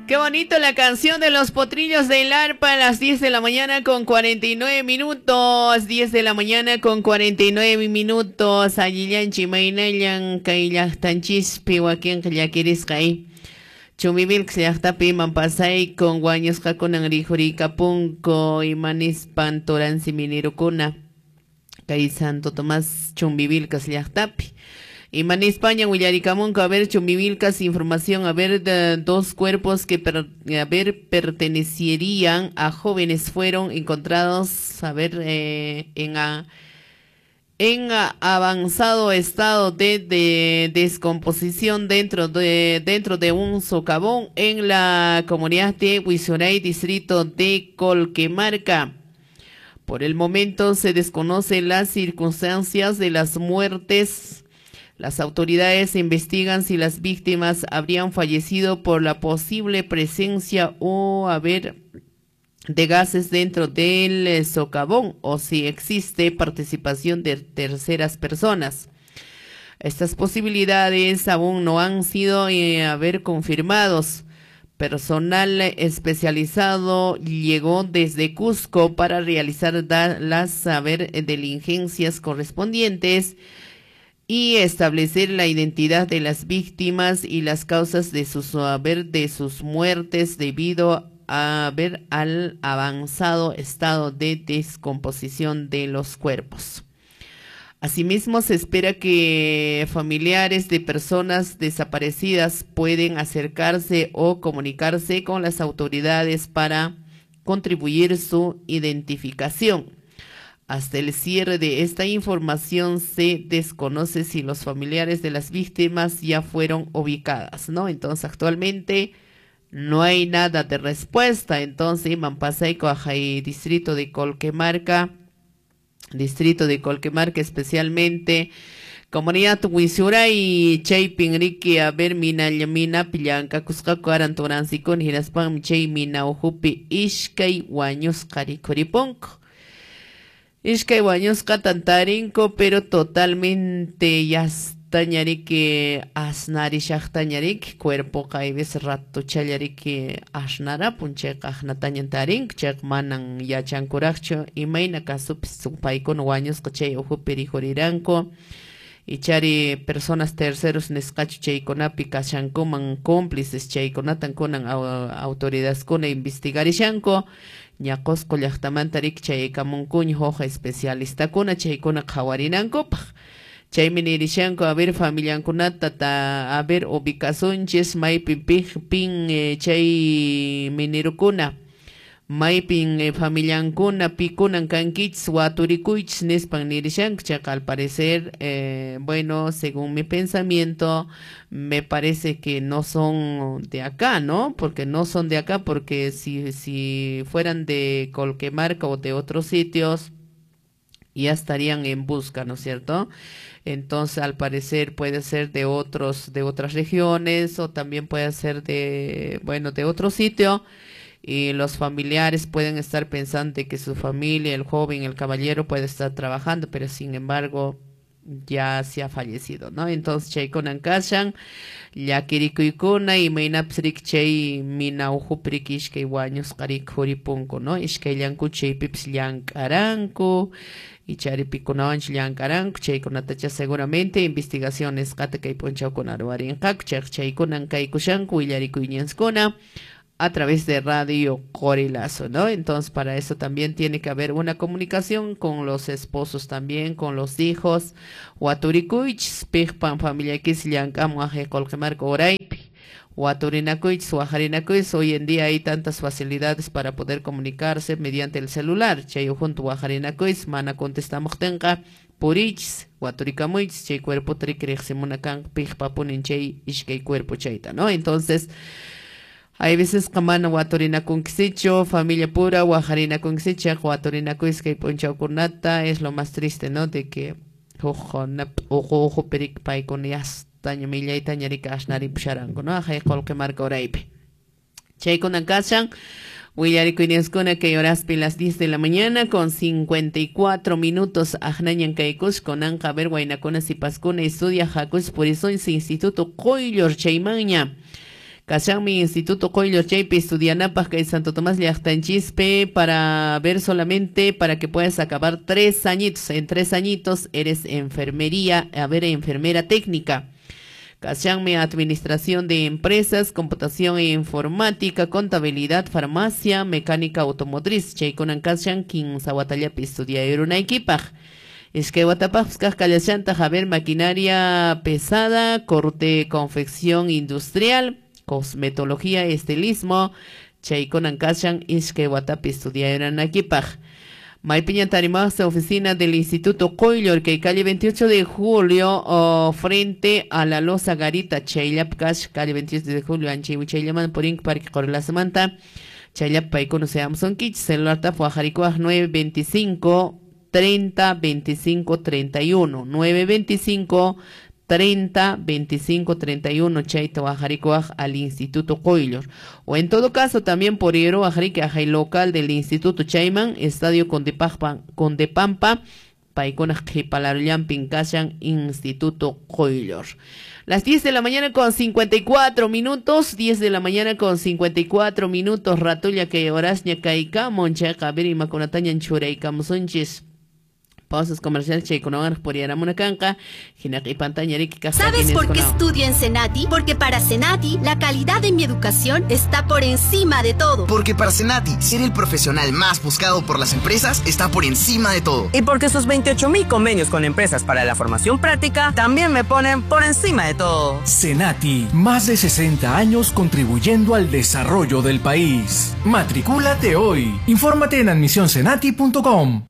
Qué bonito la canción de los potrillos del arpa a las 10 de la mañana con 49 minutos. 10 de la mañana con 49 minutos. Allillanchi maynallan kay llaqtanchispi wakinqa llakirisqa Chumbivilcas llaqtapi iman pasaykun wañusqakunan rikhuriykapunku imanispan turansi minirukuna kay Santo Tomás Chumbivilcas llaqtapi. Imanispaña willarikamunku, a ver, Chumbivilcas, información, a ver, dos cuerpos que a ver, pertenecerían a jóvenes fueron encontrados, a ver, en avanzado estado de descomposición dentro de un socavón en la comunidad de Huizuray, distrito de Colquemarca. Por el momento se desconocen las circunstancias de las muertes. Las autoridades investigan si las víctimas habrían fallecido por la posible presencia o haber de gases dentro del socavón o si existe participación de terceras personas. Estas posibilidades aún no han sido haber confirmados. Personal especializado llegó desde Cusco para realizar las diligencias correspondientes y establecer la identidad de las víctimas y las causas de sus muertes debido a ver al avanzado estado de descomposición de los cuerpos. Asimismo, se espera que familiares de personas desaparecidas pueden acercarse o comunicarse con las autoridades para contribuir su identificación. Hasta el cierre de esta información se desconoce si los familiares de las víctimas ya fueron ubicadas, ¿no? Entonces, actualmente no hay nada de respuesta. Entonces, iman pasayko distrito de Colquemarca, distrito de Colquemarca especialmente, comunidad Huizuray, chaypin riki, a ver, mina minapi llank'akusqaku aran turansikuna hinaspanmi chay mina ukhupi iskay wañusqa rikhuripunku. Iskay wañusqatan tarinku, pero totalmente yastaña riki asnarishaqtaña riki cuerpoqa hay veces ratuchalla riki asnarapun chayqa aqnatañan tarinku chayqa manan yachankuraqchu imayna kasupis paykuna wañusqa chay ukhupi rikhuriranku ichari personas terceros nisqachu chaykunapi kashankuman cómplices chaykunatan kunan autoridadeskuna investigarishanku ña Qusqu llaqtamanta riki chaykamunkuña huk especialistakuna chaykuna qhawarinankupaq chaymi nirishanku a ver familiankunata ta a ver ubicasunchis maypi pin chay minerukuna maypin familiankuna pikunan kankichis waturikuychis nispan nirishanku chayqa al parecer bueno, según mi pensamiento me parece que no son de acá, ¿no? Porque no son de acá, porque si fueran de Colquemarca o de otros sitios ya estarían en busca, ¿no es cierto? Entonces, al parecer puede ser de otras regiones o también puede ser de, bueno, de otro sitio y los familiares pueden estar pensando de que su familia, el joven, el caballero puede estar trabajando, pero sin embargo ya se ha fallecido, ¿no? Entonces, chaykunan kashan, llakirikuykuna imaynapis riki chay mina ukhupi riki iskay wañusqa rikhuripunku, ¿no? Iskayllanku chaypipis llank'aranku, ichari pikunawanchu llank'aranku, chaykunatacha seguramente investigación nisqata kay p'unchawkuna ruwarinqaku, chayqa chaykunan kaykushanku willarikuyñanskuna a través de Radio Qorilazo, ¿no? Entonces, para eso también tiene que haber una comunicación con los esposos también, con los hijos. Waturikuychis, piqpan familiaykis llank'amun aqhay Colquemarca uraypi. Waturinakuychis, wajarinakuychis. Hoy en día hay tantas facilidades para poder comunicarse mediante el celular. Chay junto wajarinakuychis, mana contestamuqtinqa puriychis, waturikamuychis, chay cuerpota riki riqsimuna kanqa piqpapunin chay iskay cuerpo chayta, ¿no? Entonces, hay veces que mana waturinakunkisichu, familia pura, wajarinakunkisichu, waturinakuychis kay p'unchawkunata, es lo más triste, ¿no? De que huk uqu ukhupi riki paykuna yastaña millaytaña riki asnaripusharanku, ¿no? Aqhay Colquemarca uraypi. Chaykunan kashan, willarikuyninskuna kay horaspi las 10 de la mañana con 54 minutos aqnañan kaykus kunanqa a ver waynakuna sipaskuna estudia hakush purisunchis Instituto Qoyllur chaymanña. Kashanmi Instituto Qoyllur chaypi estudianapaq kay Santo Tomás llaqtanchispi para ver solamente para que puedas acabar 3 añitos. En 3 añitos eres enfermería, a ver, enfermera técnica. Kashanmi administración de empresas, computación e informática, contabilidad, farmacia, mecánica automotriz. Chaykunan kashan kinsa watallapi estudiarunaykipaq. Iskay watapaqpas kaq kallashantaq, a ver, maquinaria pesada, corte, confección industrial, cosmetología, estilismo. Chaykunan kashan iskay watapi estudiarunaykipaq. Maypiña tarimaqsi oficina del Instituto Qoyllur, que calle 28 de Julio, frente a la Loza Garita, chayllap kash, calle 28 de Julio, anchay wichayllaman purink parque Qorlasamanta, chayllap paykuna seamsonkichis, celular tap wajarikuaq 925 30 25 31, 925 30 25 31, chayta wajarikuaq al Instituto Qoyllur. O en todo caso también por Hierro wajariki ajay local del Instituto Chayman, Estadio Condepampa, paykunaq qhipalarullanpin kashan Instituto Qoyllur. Las 10 de la mañana con 54 minutos, 10 de la mañana con 54 minutos, ratulla kay horasña kaykamun, chayqa a ver imakunatañan churaykamusunchis. Pausas comerciales chaykunawan puriyaramuna kanqa, hinaqi pantaña riki kasqa. ¿Sabes por qué estudio en Senati? Porque para Senati la calidad de mi educación está por encima de todo. Porque para Senati ser el profesional más buscado por las empresas está por encima de todo. Y porque sus 28.000 convenios con empresas para la formación práctica también me ponen por encima de todo. Senati, más de 60 años contribuyendo al desarrollo del país. Matricúlate hoy. Infórmate en admisionsenati.com.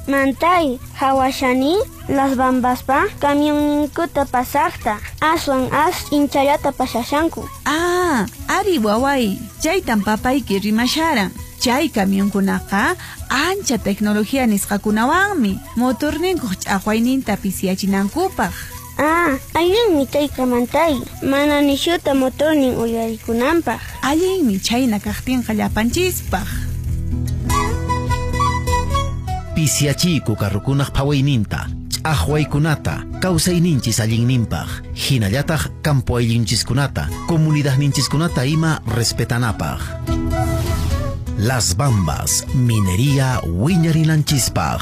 Mantay, hawashani, las bambaspa, camionninkuta pasaqta, aswan as inchallata pasashanku. Ah, ari waway, chaytan papayki rimasharan. Chay camionkunaqa ancha tecnología nisqakunawanmi, motorninkuq ch'aqwayninta pisiyachinankupaq. Ah, allinmi chayqa mantay, mana nishuta motornin uyarikunanpaq. Allinmi chayna kaqtinqa llapanchispaq. Pisiachiyku carrukunaq phawayninta, ch'aqwaykunata, kawsayninchis allinninpaq, hinallataq campo ayllunchiskunata, comunidadninchiskunata ima respetanapaq. Las Bambas, minería wiñarinanchispaq.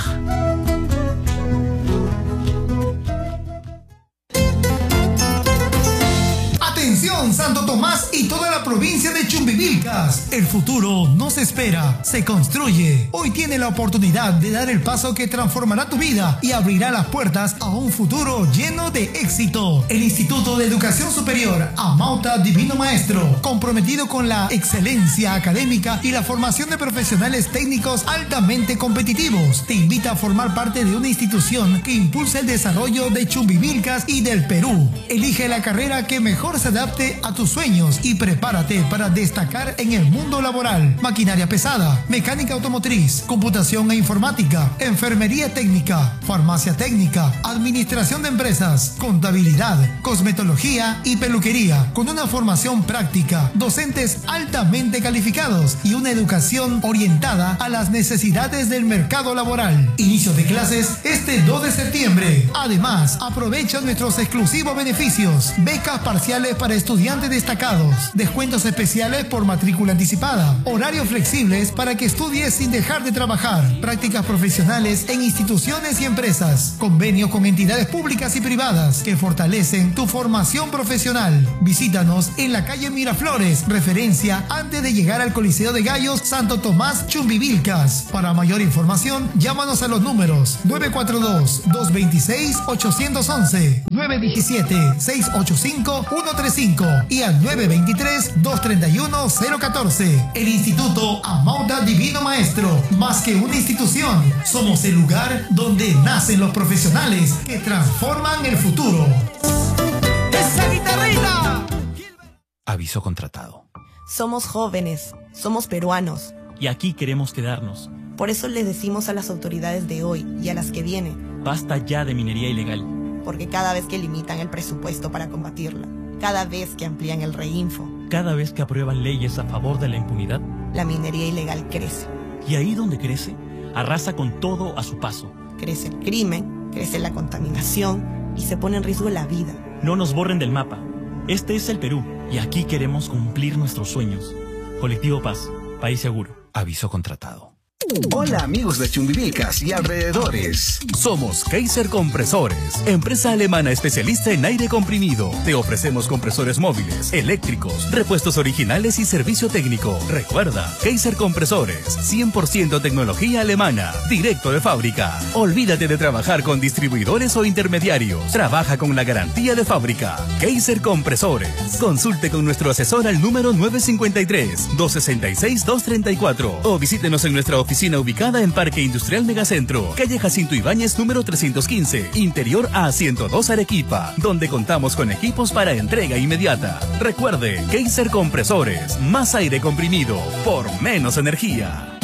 Atención, Santo Tomás y toda la provincia de Chumbivilcas. El futuro no se espera, se construye. Hoy tiene la oportunidad de dar el paso que transformará tu vida y abrirá las puertas a un futuro lleno de éxito. El Instituto de Educación Superior Amauta Divino Maestro, comprometido con la excelencia académica y la formación de profesionales técnicos altamente competitivos, te invita a formar parte de una institución que impulsa el desarrollo de Chumbivilcas y del Perú. Elige la carrera que mejor se adapte a tus sueños y prepárate para destacar en el mundo laboral. Maquinaria pesada, mecánica automotriz, computación e informática, enfermería técnica, farmacia técnica, administración de empresas, contabilidad, cosmetología y peluquería, con una formación práctica, docentes altamente calificados y una educación orientada a las necesidades del mercado laboral. Inicio de clases este 2 de septiembre. Además, aprovecha nuestros exclusivos beneficios, becas parciales para estudiantes destacados, descuentos especiales por matrícula anticipada, horarios flexibles para que estudies sin dejar de trabajar, prácticas profesionales en instituciones y empresas, convenios con entidades públicas y privadas que fortalecen tu formación profesional. Visítanos en la calle Miraflores, referencia antes de llegar al Coliseo de Gallos, Santo Tomás, Chumbivilcas. Para mayor información, llámanos a los números 942-226-811, 917-685-135 y al 923-231-014. El Instituto Amauta Divino Maestro, más que una institución, somos el lugar donde nacen los profesionales que transforman el futuro. ¡Esa guitarrita! Aviso contratado. Somos jóvenes, somos peruanos. Y aquí queremos quedarnos. Por eso les decimos a las autoridades de hoy y a las que vienen: basta ya de minería ilegal. Porque cada vez que limitan el presupuesto para combatirla, cada vez que amplían el reinfo, cada vez que aprueban leyes a favor de la impunidad, la minería ilegal crece. Y ahí donde crece, arrasa con todo a su paso. Crece el crimen, crece la contaminación y se pone en riesgo la vida. No nos borren del mapa. Este es el Perú y aquí queremos cumplir nuestros sueños. Colectivo Paz, país seguro. Aviso contratado. Hola amigos de Chumbivilcas y alrededores. Somos Kaiser Compresores, empresa alemana especialista en aire comprimido. Te ofrecemos compresores móviles, eléctricos, repuestos originales y servicio técnico. Recuerda, Kaiser Compresores, 100% tecnología alemana, directo de fábrica. Olvídate de trabajar con distribuidores o intermediarios. Trabaja con la garantía de fábrica. Kaiser Compresores. Consulte con nuestro asesor al número 953-266-234 o visítenos en nuestra oficina ubicada en Parque Industrial Megacentro, calle Jacinto Ibáñez número 315, interior A102 Arequipa, donde contamos con equipos para entrega inmediata. Recuerde, Kaiser Compresores, más aire comprimido, por menos energía.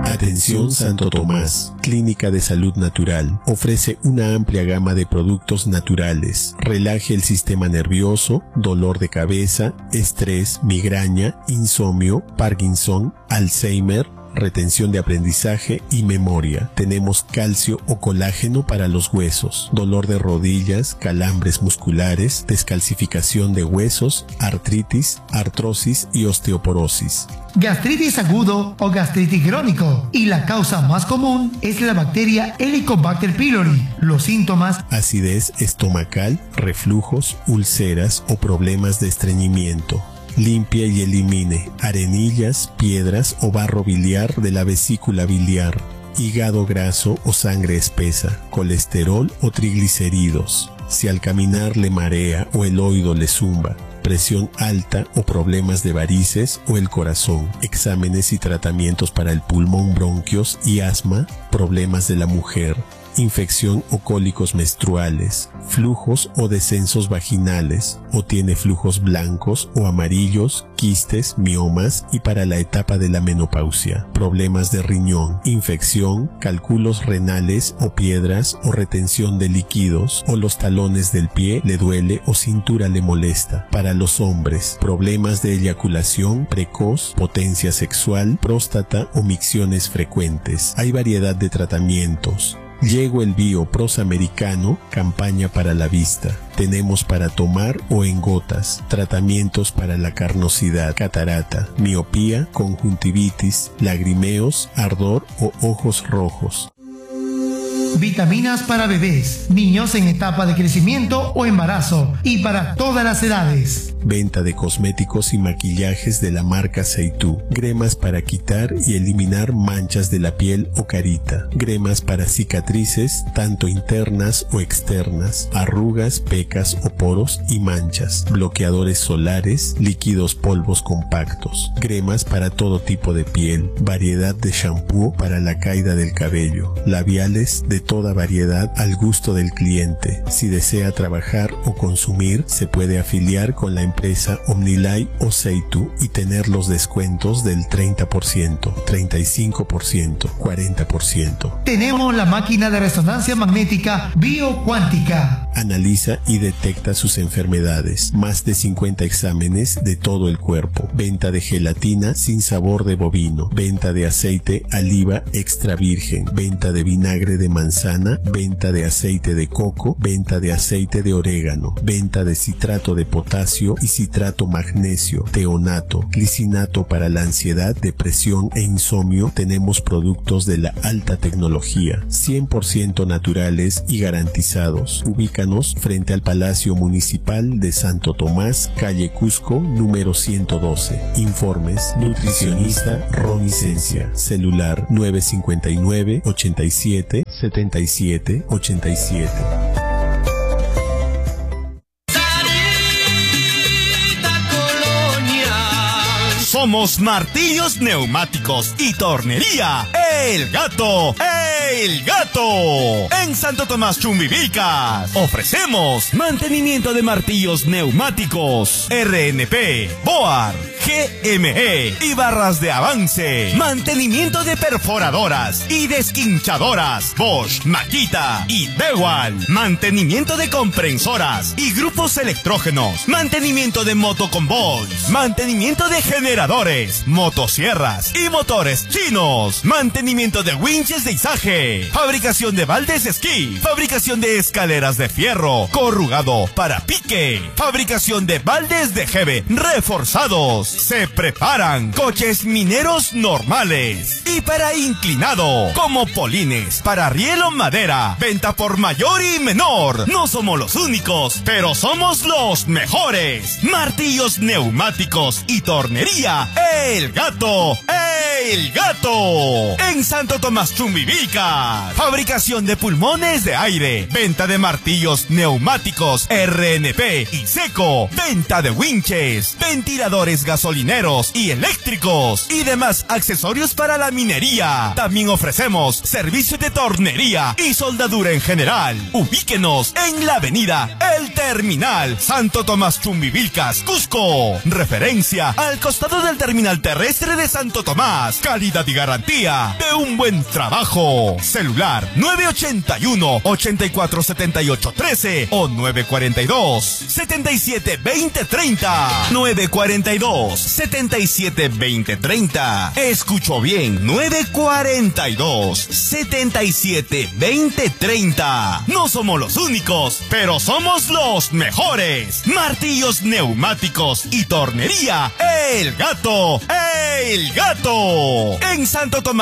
Atención Santo Tomás, Clínica de Salud Natural, ofrece una amplia gama de productos naturales. Relaje el sistema nervioso, dolor de cabeza, estrés, migraña, insomnio, Parkinson, Alzheimer, retención de aprendizaje y memoria. Tenemos calcio o colágeno para los huesos, dolor de rodillas, calambres musculares, descalcificación de huesos, artritis, artrosis y osteoporosis. Gastritis agudo o gastritis crónico, y la causa más común es la bacteria Helicobacter pylori. Los síntomas: acidez estomacal, reflujos, úlceras o problemas de estreñimiento. Limpia y elimine arenillas, piedras o barro biliar de la vesícula biliar, hígado graso o sangre espesa, colesterol o triglicéridos. Si al caminar le marea o el oído le zumba, presión alta o problemas de varices o el corazón, exámenes y tratamientos para el pulmón, bronquios y asma, problemas de la mujer, infección o cólicos menstruales, flujos o descensos vaginales, o tiene flujos blancos o amarillos, quistes, miomas y para la etapa de la menopausia, problemas de riñón, infección, cálculos renales o piedras o retención de líquidos, o los talones del pie le duele o cintura le molesta. Para los hombres, problemas de eyaculación precoz, potencia sexual, próstata o micciones frecuentes. Hay variedad de tratamientos. Llego el Bio Prosamericano, campaña para la vista. Tenemos para tomar o en gotas, tratamientos para la carnosidad, catarata, miopía, conjuntivitis, lagrimeos, ardor o ojos rojos. Vitaminas para bebés, niños en etapa de crecimiento o embarazo y para todas las edades. Venta de cosméticos y maquillajes de la marca Seitú. Cremas para quitar y eliminar manchas de la piel o carita. Cremas para cicatrices, tanto internas o externas, arrugas, pecas o poros y manchas. Bloqueadores solares, líquidos polvos compactos. Cremas para todo tipo de piel. Variedad de shampoo para la caída del cabello. Labiales de toda variedad al gusto del cliente. Si desea trabajar o consumir, se puede afiliar con la empresa Omnilay o Seitu y tener los descuentos del 30%, 35%, 40%. Tenemos la máquina de resonancia magnética biocuántica. Analiza y detecta sus enfermedades. Más de 50 exámenes de todo el cuerpo. Venta de gelatina sin sabor de bovino. Venta de aceite oliva extra virgen. Venta de vinagre de manzana, venta de aceite de coco, venta de aceite de orégano, venta de citrato de potasio y citrato magnesio, teonato, glicinato para la ansiedad, depresión e insomnio. Tenemos productos de la alta tecnología, 100% naturales y garantizados. Ubícanos frente al Palacio Municipal de Santo Tomás, calle Cusco, número 112. Informes, nutricionista Ronnie Cencia, celular 959 87 77 87. Somos Martillos Neumáticos y Tornería El Gato, El Gato. En Santo Tomás Chumbivilcas ofrecemos mantenimiento de martillos neumáticos RNP, BOAR, GME y barras de avance. Mantenimiento de perforadoras y desquinchadoras Bosch, Makita y Dewalt. Mantenimiento de compresoras y grupos electrógenos. Mantenimiento de motoconvoys. Mantenimiento de generadores, motosierras y motores chinos. Mantenimiento de winches de izaje. RNP. Fabricación de baldes esquí. Fabricación de escaleras de fierro corrugado para pique. Fabricación de baldes de jeve reforzados. Se preparan coches mineros normales y para inclinado, como polines para riel o madera. Venta por mayor y menor. No somos los únicos, pero somos los mejores. Martillos neumáticos y tornería El Gato. El Gato. En Santo Tomás Chumbivilcas. Fabricación de pulmones de aire. Venta de martillos neumáticos RNP y seco. Venta de winches, ventiladores gasolineros y eléctricos y demás accesorios para la minería. También ofrecemos servicio de tornería y soldadura en general. Ubíquenos en la avenida El Terminal, Santo Tomás Chumbivilcas, Cusco. Referencia al costado del terminal terrestre de Santo Tomás. Calidad y garantía de un buen trabajo. Celular 981 84 78 13 o 942 77 20 30. 942 77 20 30. Escucho bien, 942 77 20 30. No somos los únicos, pero somos los mejores. Martillos neumáticos y tornería El Gato. El Gato. En Santo Tomás.